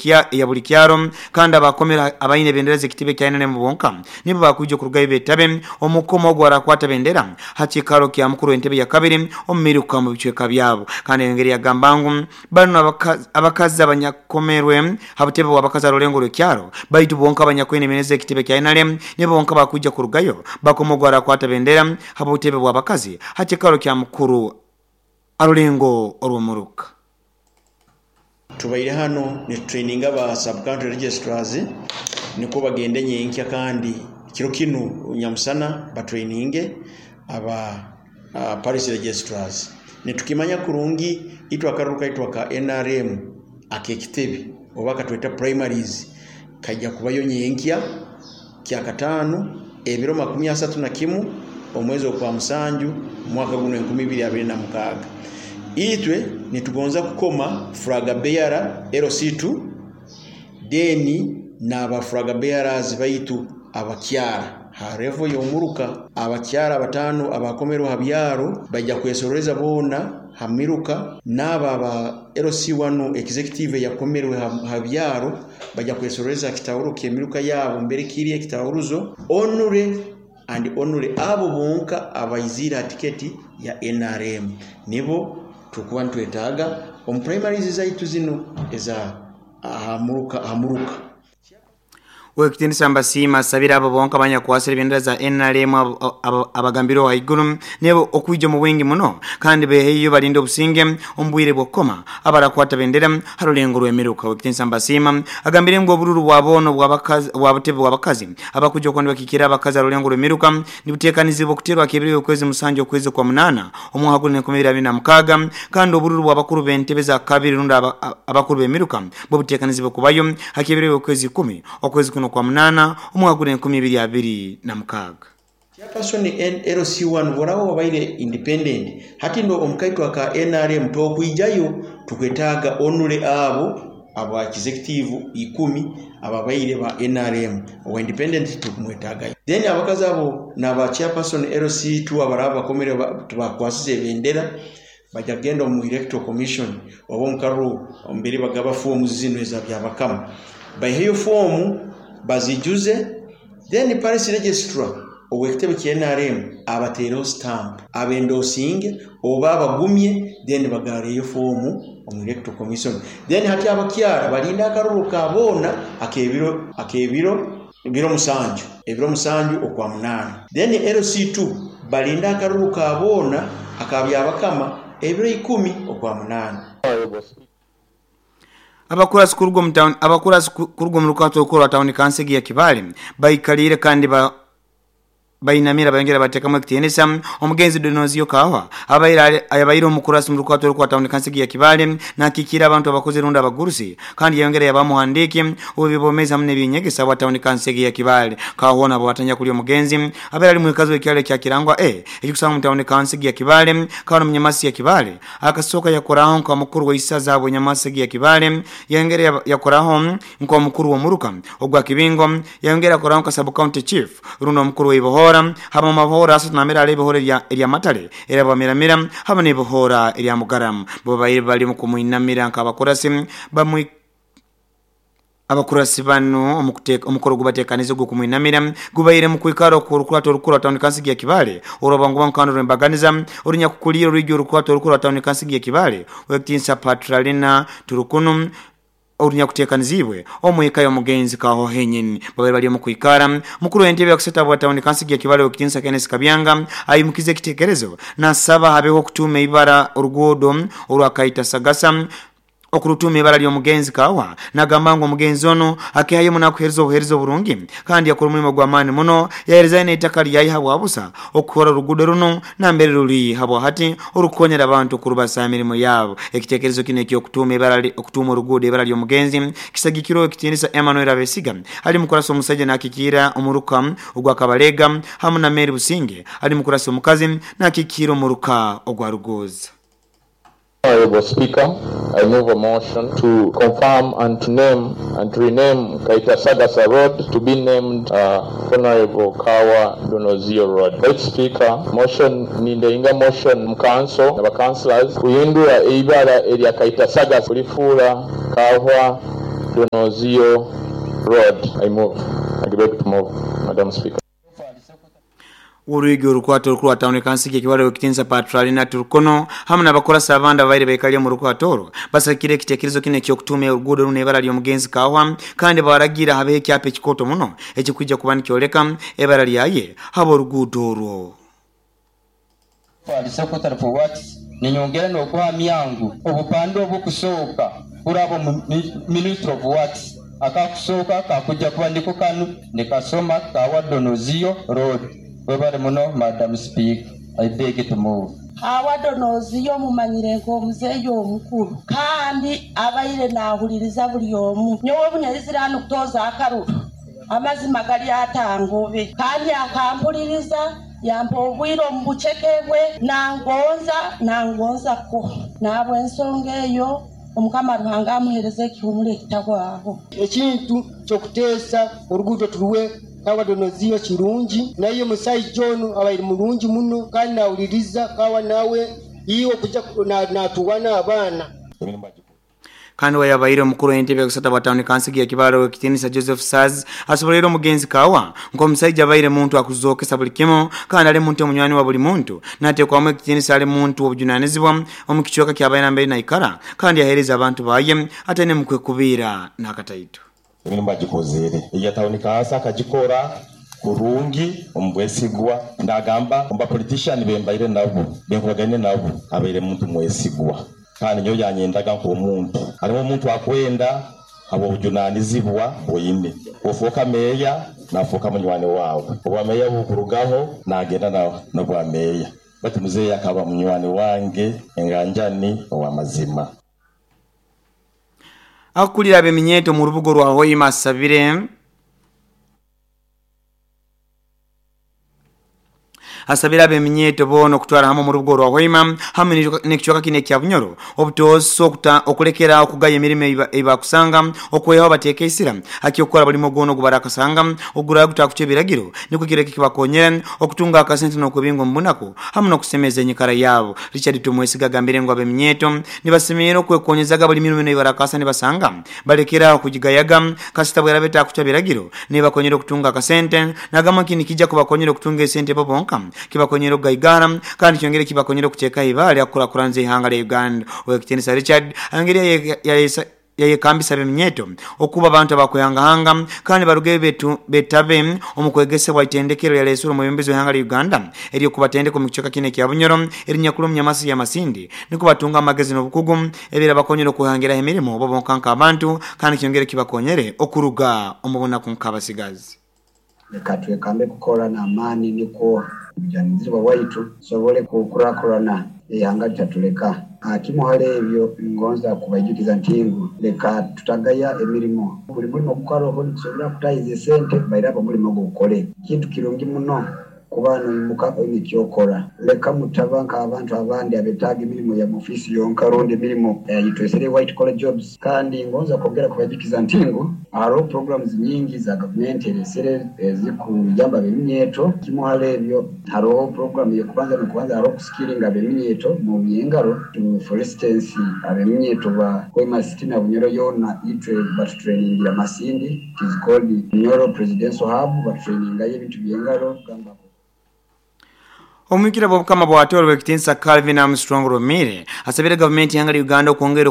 Eya buli kyaro kandi abakomere abaine bendera z'ekitebe kya NRM bonka nibo bakwija okurugayo betabe omukoma ogwo arakwata bendera ha kiikaro kya mukuru w'entebe ya kabiri omu miruka mu bicweka byabo. Kandi engeri yagamba ngu banu abakazi abanyakomerwe ha butebe bw'abakazi ha rulengo rw'ekyaro baitu bonka abanyakwine bendera z'ekitebe kya NRM nibo bonka bakwija kurugayo bakoma ogwo arakwata bendera ha butebe bw'abakazi ha kiikaro kya mukuru arulengo orw'omuruka. Tubaire hano nitutraininga aba sub-county registrars nikwo bagende nyenkya kandi kiro kinu nyamusana batraininge aba parish registrars. Nitukimanya kurungi itwe akaruru kaitu aka NRM ak'ekitebe oba akatweta primaries kaija kubayo nyenkya kyakataano ebiro 31 omwezi ogwa musanju mwaka guno 2026. Itwe nitugonza kukoma flag bearer LC2 then n'aba flag bearers baitu abakyara ha level y'omuruka abakyara batano abakomerwe ha byaro bajja kwesororeza boona ha miruka n'aba aba LC1 executive yakomerwe ha byaro bajja kwesororeza kitahuro ky'emiruka yabo mbere kiri ekitahuruzo onure and onure abo bonka abaizire ha tiketi ya NRM nibo tukuba nitwetaaga omu primaries zaitu zino eza ahamuruka ahamuruka. Wekitiinisa Mbasiima asabire abo bonka abanyakwasire ebendera za NRM abagambirweho haiguru nibo okwija omu bwingi muno kandi beheyo balinde obusinge omu bwire bw'okukoma abarakwata bendera ha rulengo rw'emiruka. Wekitiinisa Mbasiima agambire ngu obururu bwa boona bwa butebe bw'abakazi abakuja okuba nibakikira abakazi ha rulengo rw'emiruka nibuteekanizibwa okuteerwa ak'ebiro by'okwezi musanju okwezi kwa munaana omwaka guni 2026 kandi obururu bw'abakuru b'entebe za kabiri rundi abakuru b'emiruka bwo buteekanizibwa kubayo hak'ebiro by'okwezi 10 okwezi kuno kwa munaana omwaka guni 2026. Chairperson LC1 boraba wabaire independent hati ndo omukaitwa ka NRM tokwijayo tukwetaaga onure abo aba executive 10 ababaire ba NRM owa independent tukumwetaagayo. Then abakazi abo n'aba chairperson LC2 abaraba bakomere tubakwasize ebendera bajja kugenda omu electoral commission oba omukaruru mbere bagaba fomu zino eza byabakama baiheyo fomu bazijuze then parish registrar ow'ekitebe kya NRM abateereho stamp abendosinge oba abagumye then bagareyo fomu omu electoral commission. Then hati abakyara balinda akaruru ka boona akebiro ebiro musanju ebiro musanju okwa munaana. Then LC2 balinda akaruru ka boona akabyabakama ebiro 10 okwa munaana. Abakurasi kuruga omu rukato rukuru rwa tawuni kansegi ya Kibaale baikalire kandi bainamira bayongera batekamu ekitiinisa omugenzi Donozio Kawa abaire omukurasi mu rukato rukuru rwa tawuni kansegi ya Kibaale nakikira abantu abakozi rundi abagurusi kandi yayongera yaba muhandiki w'ebibomezi hamwe n'ebyenyegesa bwa tawuni kansegi ya Kibaale. Kawa nabo batanya kuli omugenzi abaire ali mwikazi w'ekyalo kya Kirangwa ekikusanga mu tawuni kansegi ya Kibaale kandi munyamasi ya Kibaale akasooka yakoraho nka mukuru w'isaza bw'enyamasi ya Kibaale yayongera yakoraho nka mukuru w'omuruka ogwa Kibingo yayongera yakoraho nka sub county chief rundi omukuru w'ibohora haba mabahora asatu namera ale bohora erya matale era bamiramira haba ne bohora erya mugaramu bo baire bali mu kumuinamira nka bamwe abakurasi bano omukoro gubatekanize gwo kumuinamira gubaire mu kwikaro ku rukurato rukuru tawuni kansigi ya Kibaale orobangu bankano rwembaganiza orunya kukulira rujjo rukurato rukuru tawuni kansigi ya Kibaale wekitinsa Patralina Turukunu orunya kutekanizibwe omweka y'omugenzi kaho henyini babere bali mu kwikara. Mukuru w'entebe yakuseta bwa tawuni kansigi ya Kibaale wekitinsa Kenneth Kabyanga ayimukize ekitekerezo nasaba habeho kutuuma ibara oruguudo orwakaita Sagasa okurutuma ibara ly'omugenzi Kawa nagamba ngu omugenzi ono akihayo munakuhereza obuhereza oburungi kandi yakora omulimo gw'amaani muno yahereza n'eitaka lyayi habwabusa okukora oruguudo runo nambere ruri habwa hati orukukonyera abantu okurubasa emirimu yabo. Ekitekerezo kino eky'okutuma ibara okutuma oruguudo ibara ly'omugenzi kisagikirwe ekitiinisa Emmanuel Abesiga ali mukurasa omusajja nakikira omuruka ogwa Kabalega hamwe na Mary Businge ali mukurasa omukazi nakikira omuruka ogwa Rugoza. Honorable Speaker, I move a motion to confirm and to name and to rename Kaita Sagasa Road to be named Honorable Kawa Donozio Road. Right Speaker, motion nindeinga motion mu council na councillors kuyindura eibara erya Kaita Sagasa kulifuula Kawa Donozio Road. I move. I beg to move, Madam Speaker. Urwigi orukwato orukuru wa kansigi ekiwale wekitinsa Patralina Turkono hamwe n'abakorasa abandi abaire baikali mu rukwato orwo basakire ekitekerezo kino eky'okutuuma oruguudo runo ebara ly'omugenzi Kawa, kandi baragira habeho ekyapa ekikoto muno ekikwija kuba nikyoleka ebara lyaye haba oruguudo orwo. Secretary for Works ninyongera n'okuhamya ngu obupande obukusooka kuraba mu Ministry of Works akakusooka kakujja kuba ndiko kanu nikasoma Kawa Donozio Road. Webale muno Madam Speaker, I beg to move. Kawa Donozio mumanyire nk'omuzeeyi omukulu kandi abaire naahuliriza buli omu. Nyowe obunyalizira hanu kutooza akaruru amazima gali atangobe kandi akampuliriza yampa obwire omu buceke bwe nangonza ko nabwo ensonga eyo Omukama Ruhanga amuhereze ekihumuro ekitahwaho. Ekintu ky'okuteesa oruguudo turuwe Kawa Donozio kirungi, naye musajja ono abaire mulungi muno kandi nawuliriza Kawa nawe iwe kuja natuwana abaana. Kandi wayabaire omukuru w'entebe kusata bwa town council ya Kibaro ekitinisa Joseph Saz asobolera omugenzi Kawa ng'omusajja abaire muntu akuzokesa buli kimu kandi ali muntu omunywani wa buli muntu nateekwamu ekitinisa ali muntu obujunanizibwa omu kichweka ky'abaire mbere naikara kandi yahereza abantu baye ate ne mukwekubiira n'akataito. Emirimu bagikozere iya town council akagikora kurungi omubwesigwa ndagamba omba politician bembaire nabo benkuragane nabo abaire muntu mwesigwa kandi nyo yanyendaga nk'omuntu harimu omuntu akwenda abo obujunanizibwa bwine ofuuka meeya nafuuka munywani wawe obwa meeya bukurugaho nagenda nobwa meeya bati muzeeyi akaba munywani wange enganjani ow'amazima. Akulira ab'eminyeeto mu rubugo rwa Hoima asabire ab'eminyeeto boona okutwara hamwe mu rubugo rwa Hoima hamwe n'ekichweka kino ekya Bunyoro obutoosa okulekera okugaya emirimo eibakusanga okwehaho bateeka esira akyokukola buli mugono ogubarakasanga oguraba gutakuca ebiragiro nikwo kireke kibakonyera okutunga akasente n'okwebinga omu bunaku hamwe n'okusemeza enyikara yaabo. Richard Tumwesiga agambire ngu ab'eminyeeto nibasemerera okwekonyezaga buli mirimo eibarakasa nibasanga balekera okugigayaga kasita bweraba etakuca biragiro nibakonyera okutunga akasente nagamba nti nikijja kubakonyera okutunga esente bo bonka kibakonyera okugaigara kandi kyongere kibakonyera okuteeka ibaale akukulakulanza ihanga lya Uganda. Owekitinisa Richard ayongere yayekambisa ab'eminyeeto okuba abantu abakwehangahanga kandi baruge betabe omu kwegesebwa itendekero lyalesura omwebembezi w'ihanga lya Uganda ery'okubatendeka omu kichweka kino ekya Bunyoro erinyakulu omu Nyamasi ya Masindi nikwo batunga amagezi n'obukugu ebirabakonyera okuhangiraho emirimo bo bonka nk'abantu kandi kyongere kibakonyere okuruga omu bunaku nk'abasigazi. Leka twekambe kukora n'amaani nikwo obujunanizibwa bwaitu tusobole kukurakurana ihanga litatuleka. Kimu hali ebyo ngonza kubaijukiza nti ngu leka tutagaya emirimo buli mulimo gukaroho nikusobora kutahiza esente bairaba omulimo gukole kintu kirungi muno kuba noimuka oine ekyokora. Leka mutaba nk'abantu abandi abetaaga emirimo ya ofisi yonka rundi emirimo yitwesere white collar jobs. Kandi ngonza kwongera kubajukiza nti ngu hariho programs nyingi za gavumenti eresere ezikuyamba ab'eminyeeto. Kimu hali ebyo hariho program y'okubanza n'okubanza hariho okusikiringa ab'eminyeeto mu byengaro. For instance ab'eminyeeto ba Hoima City na Bunyoro yoona itwe batutrainingira Masindi, it is called Bunyoro Presidential Hub, batutrainingayo ebintu by'engaro kugamba. Omwikira bw'obukama bwa Toro w'ekitinisa Calvin Armstrong Romire asabire gavumenti y'ihanga lya Uganda okwongera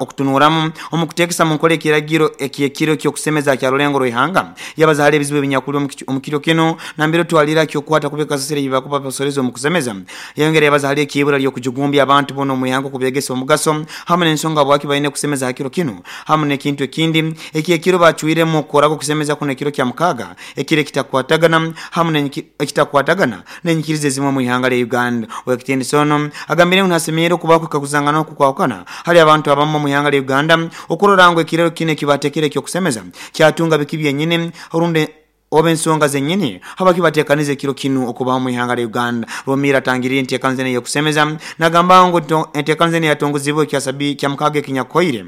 okutunuramu omu kuteekesa mu nkola ekiragiro ekyekiro ky'okusemeza kya rulengo rw'ihanga. Yabaza hali ebizibu ebinyakuli omu kiro kino nambere twalira ky'okukwata kubika kasasiro ebibakuba basoreza omu kusemeza. Yayongera yabaza hali ekibura ly'okujugumbya abantu boona omu ihanga okubyegesa omugaso hamwe n'ensonga bwaki baine kusemeza ha kiro kino hamwe n'ekintu ekindi ekyekiro bacwiremu okukorako okusemeza kuno ekiro kya mukaaga ekiro ekitakwatagana hamwe ekitakwatagana n'enyikiriza ezimwe mu ihanga lya Uganda. Owekitinisa ono agambire ngu nasemerera okubaho kwekaguzangana okukwawukana hali abantu abamu mu ihanga lya Uganda okurora ngu ekirero kino ekibatekere eky'okusemeza kyatunga biki byenyini orundi oba ensonga zenyini haba kibatekaniza ekiro kino okubaho mu ihanga lya Uganda. Romira atangiriire enteekaniza eno ey'okusemeza nagamba ngu enteekaniza eno yatongozibwe ekya mukaaga ekinyakuhoire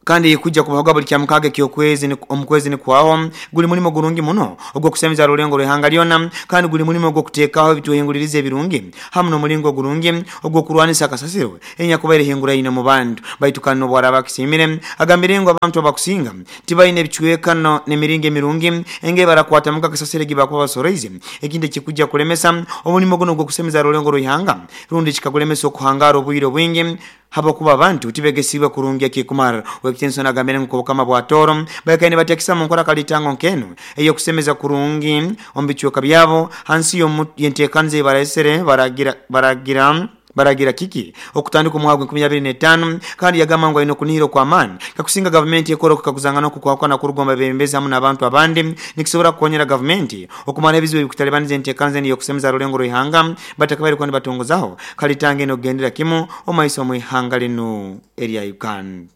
Kandi kujja kubahoga buli kya mukaga ekyokwezi omukwezi nikwaho guli mulimo gurungi muno ogw'okusemeza rulengo rw'ihanga lyona, kandi guli mulimo ogw'okuteekaho ebituhinguliriza ebirungi hamu n'omulingo gurungi ogw'okurwanisa akasasiro enyakubaire hinguraine mu bantu. Baitu kandi n'obwaraba akisimire agambire ngu abantu abakusinga tibaine ebicwekano n'emiringo emirungi enge barakwatamuka akasasiro egi bakuba basoroize, ekindi ekikujja kulemesa omulimo guno ogw'okusemeza rulengo rw'ihanga rundi kikagulemesa okuhangara obwire obwingi habakuba abantu tibegesibwe kurungi ekikumara. Wekitinso nagambire ngu obukama bwa Toro baikaine batekisa mu nkora kalitango nkenu eyokusemeza kurungi omu bicweka byabo hansi y'enteekaniza baraesere baragira kiki okutandika omwaka 2025. Kandi yagamba ngu aine okunihira okw'amaani kakusinga gavumenti ekora okukaguzangana okukwakwana kurugomba bebembezi hamu n'abantu abandi nikisobora kukonyera gavumenti okumara ebizibu ebikutalibaniza enteekaniza enu y'okusemeza rulengo rw'ihanga batakabaire kuba nibatongozaho kalitanga eno okugendera kimu omumaiso omu ihanga linu erya Uganda.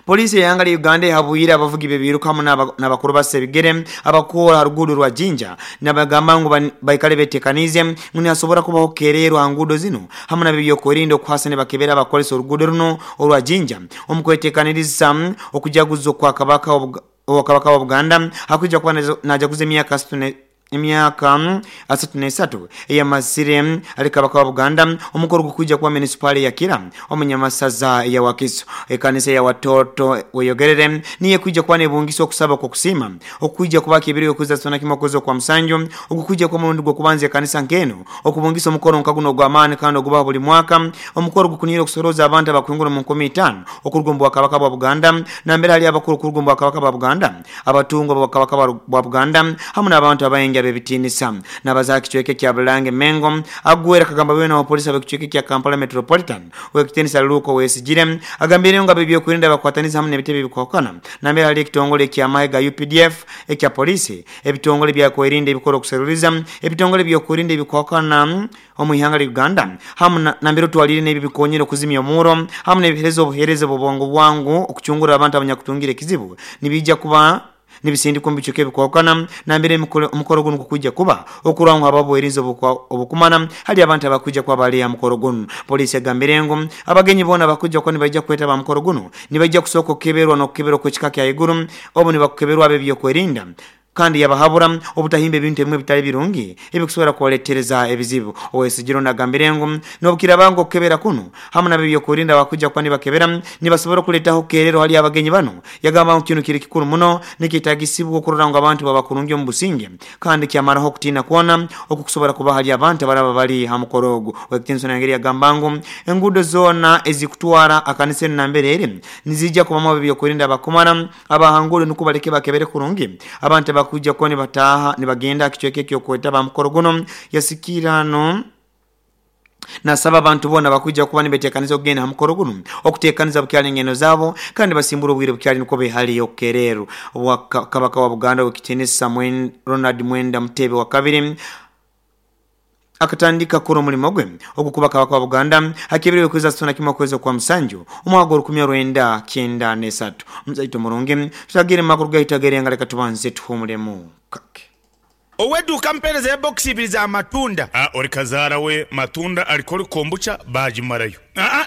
Polisi y'ihanga lya Uganda ehabwire abavugi b'ebiruka hamu n'abakuru basa ebigere abakuhora ha ruguudo rwa Jinja nabagamba ngu baikale betekaniize ngu nihasobora kubaho kererwa ha nguudo zinu hamu n'ebyokwerinda okuhasa nibakebera abakozesa oruguudo runo orwa Jinja omu kwetekaniriza okujaguza okwa Kabaka wa Buganda hakwija kuba najaguza emyaka 33 eyamasire ali Kabaka wa Buganda. Omukoro gukwijja kuba munisipaali ya Kira omunyamasaza ya Wakiso. Ekanisa ya Watoto weyogerere niye kwijja kuba nebungisa okusaba kw'okusiima okwijja kuba kibiri okuza sona kimwe okuza kwa musanju ogukwijja kuba murundi gw'okubanza ekanisa nkeno okubungisa omukoro nka guno ogw'amaani kandi ogubaho buli mwaka. Omukoro gukunira okusoroza abantu abakwingura mu 50 okuruga omu bwakabaka bwa Buganda nambere hali abakuru kuruga omu bwakabaka bwa Buganda, abatungwa bwakabaka bwa Buganda hamu n'abantu abaingi abebitinisa. Nabaza kicweke kya Bulange Mengo agwera kagamba bwena wa polisi abekicweke kya Kampala Metropolitan wekitinisa Luko Wesigire agambire ngo abebyokwerinda bakwataniza hamu n'ebitebe bikwakana nambere hali ekitongole ekya ga UPDF ekya polisi, ebitongole bya kwerinda ebikora okuseruliza, ebitongole byokwerinda ebikwakana omu ihanga lya Uganda hamu nambere otwalire n'ebi bikonyera okuzimya omuro hamu n'ebihereza obuhereza bw'obwangu bwangu okucungura abantu abanyakutungira ekizibu nibijja kuba nibisindikwa omu bicweka ebikwakana nambere omukoro guno gukwijja kuba okurangwa ababwerinzi obukumana hali abantu abakwijja kuba bali aha mukoro guno. Polisi egambire ngu abagenyi boona bakwijja kuba nibaija kwetaba aha mukoro guno nibaija kusooka okukeberwa n'okukeberwa kw'ekika kya iguru obu nibakukeberwa ab'ebyokwerinda, kandi yabahabura obutahimba ebintu ebimwe bitali birungi ebikusobora kubaletereza ebizibu. Owesigiro nagambire ngu n'obukiraba ngu okukebera kuno hamu n'abebyokwerinda bakwijja kuba nibakebera nibasobora okuleetaho kerero hali abagenyi bano. Yagamba ngu kinu kiri kikuru muno nikitagisibwa okurora ngu abantu baba kurungi omu businge kandi kyamaraho okutiina kwona okukusobora kuba hali abantu abaraba bali ha mukoro ogu. Wekitinso nangeri yagamba ngu enguudo zoona ezikutwara akanisa enu nambere eri nizijja kubamu abebyokwerinda abakumara abahanguudo nukwo baleke bakebere kurungi abantu abakuja kuba nibataha nibagenda kicweke ekyokwetaba mukoro guno. Yasikirano nasaba abantu bona bakujja kuba nibetekaniza okugenda ha mukoro guno okutekaniza bukyali engendo zabo kandi basimbura obwire bukyali nukwo behali okukereero. Kabaka wa Buganda wekitinisa Ronald Mwenda Mutebi wa kabiri akatandika kura omulimo gwe ogukuba Kabaka wa Buganda hakibiriwe kweza sona kimwe kweza kwa musanju omwaka 1993. Muzaito murungi tutagire makuru gaitagere ngaleka tubanze tuhumulemu kake. Oweduka mpereza ya box ibiri za matunda. Ori kazaara we matunda alikoli kombucha bagimarayo.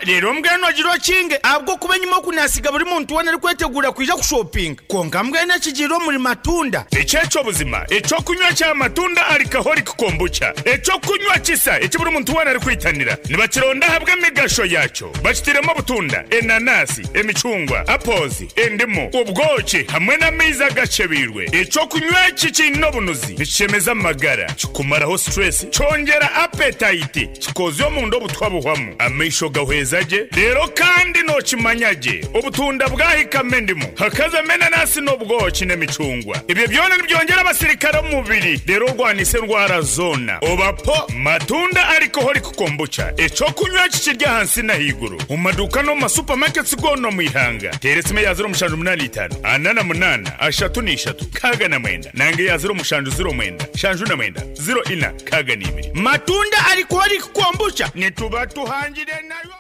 Rero mbwenu agira okinge ahabwo kuba enyuma okunasiga buri muntu wena arikwetegura kwija kushopinga. Konka mbwenu ekigira omuri matunda. Ekyekyo buzima ekyokunywa kya matunda alikaholi kombucha. Ekyokunywa kisa eki buri muntu wena arikwitanira. Nibakironda ahabwa emigasho yakyo. Bakitiremu obutunda, enanasi, emicungwa, apples, endimu, obwoki hamwe n'amaizi agacebirwe. Ekyokunywa eki kiine obunuzi nikishemeza amagara, kikumaraho stress, kyongera appetite, kikozya omunda obutwa buhwamu, amaisho gahweza gye, rero kandi nokimanya gye obutunda bwahikama endimu hakazamo enanasi n'obwoki n'emicungwa. Ebyo byona nibyongera abasirikare omu mubiri, rero orwanise endwara zoona. Obapo matunda alikoholi kukombucha ekyokunywa kikirya ahansi n'ahaiguru omu maduuka n'omu masupamaketi goona omu ihanga. Teera esimu eya 0785 48 33 69 nange ya 0709 79 04 62. Matunda alikoholi kukombucha nituba tuhangire nayo.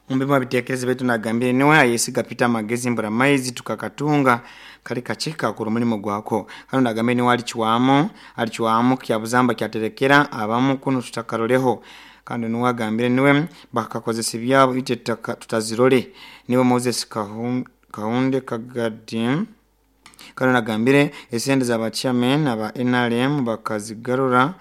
Mumbima bitekereze betu nagambire niwe ayesiga Peter Magezi mbura maizi tukakatunga kali kachika kuru mulimo gwako. Kano nagambire niwe alichiwamo kya buzamba kyaterekera abamu kuno tutakaroleho. Kandi nuwe agambire niwe bakakozesa ebyabo itwe tutazirole. Niwe Moses Kahunde Kagadi. Kandi nagambire esente z'aba chairman aba NRM bakazigarura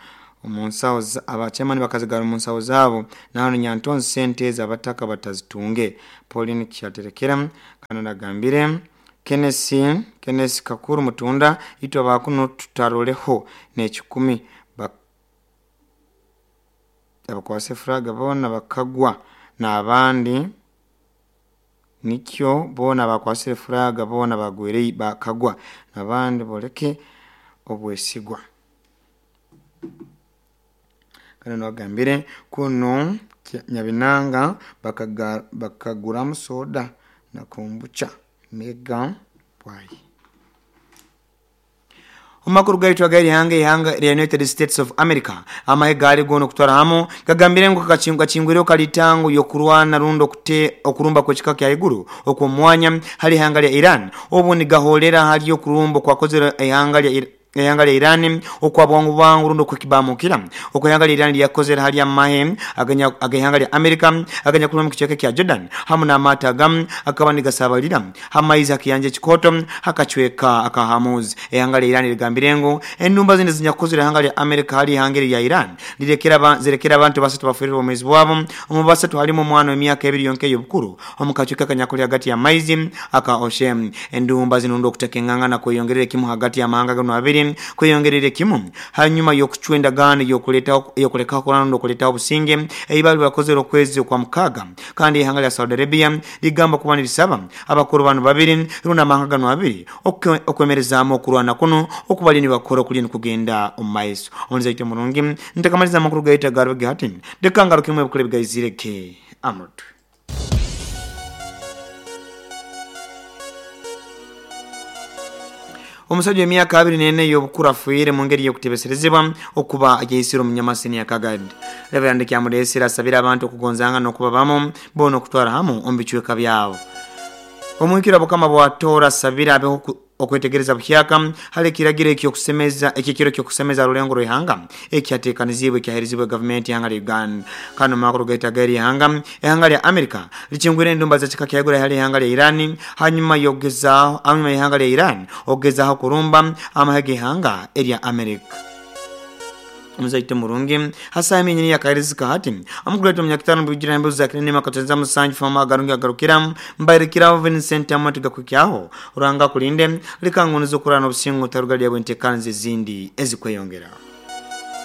omu nsaho, aba chairman bakazigarura omu nsaho zaabo. Nahano Nyantonzi sente ez'abataka batazitunge. Pauline Kyaterekera. Kandi nagambire Kenesi Kakuru Mutunda, itwe abakuno tutaroleho n'ekikumi. Abakwase furaga boona bakagwa n'abandi, nikyo boona abakwasire furaga boona bagwire bakagwa n'abandi boleke obwesigwa. Kandi nagambire kunu Nyabinanga bakaguramu soda na kombucha mega bwayi. Omakuru gaitu ag'erihanga, ihanga lya United States of America, amahe gaali goona okutwara hamu gagambire ngu gakingwireho kalitango y'okurwana rundi okurumba kw'ekika kya iguru okw'omwanya hali ihanga lya Iran, obu nigahoolera hali okurumba okwakozere ihanga lya ihanga lya Iran okwa bwangu bwangu rundi okwekibamukira okwa ihanga lya Iran lyakozere hali amahe ag'ihanga lya America aganyakuli omu kicweka kya Jordan hamu n'amaato agamu akaba nigasabalira hamaizi hakiyanja ekikooto hakacweka aka Hormuz. Ihanga lya Iran ligambire ngu endumba zinu ezinyakukozere ihanga lya America hali ihanga eri lya Iran lirekera abantu basatu baferire obwomeezi bwabo. Omu basatu halimu omwana w'emyaka 2 yonka ey'obukuru omu kacweka akanyakuli hagati y'amaizi aka Ocean. Endumba zinu rundi okuteka engangana kweyongerera ekimu hagati y'amahanga ganu abiri kweyongerera ekimu hanyuma y'okucwa endagaano y'okulekaho kurwana rundi okuletaho obusinge ei bali bakozere okwezi okwa mukaaga. Kandi ihanga lya Saudi Arabia ligamba kuba nirisaba abakuru banu babiri rundi amahanga ganu abiri okwemerezaamu okurwana kuno okubali nibakora okuli nikugenda omu maiso. Omulizi aite murungi ntakamaliza amakuru gaitu agaruge hati ndeka ngarukemu ebikuru ebigaizireke amutwe. Omusajja w'emyaka 24 ey'obukuru afiire mu ngeri y'okutebeserezebwa okuba ayeisire omunyamasini ya Kagadi. Reverend Kyamuleesera asabire abantu okugonzanga n'okuba bamu boona okutwara hamu omu bicweka byabo. Omuhikiro Bukama bwa Tooro asabire abeho okwetegereza buhyaka hali ekiragiro eky'okusemeza ekyekiro ky'okusemeza rulengo rw'ihanga ekyateekaniziibwe ekyaherizibwe gavumenti ihanga lya Uganda. Kandi omu makuru gaitu ag'eri ihanga, ihanga lya America likingwire endumba z'ekika kya iguru hali ihanga lya Iran hanyuma y'okugezaaho hanyuma y'ihanga lya Iran okugezaaho kurumba amahe g'ihanga erya America. Omuzaite murungi hasaha eminyini yakaherizika hati amukuleta omunyakitano bwijira embuzi za kinene makatenza musanju fama agarungi agarukira mbairikiraho Vincent Amati gakwikyaho Ruhanga akulinde likangunuza okurana obusingo taruga lya bwentekanzi ezindi ezikweyongera.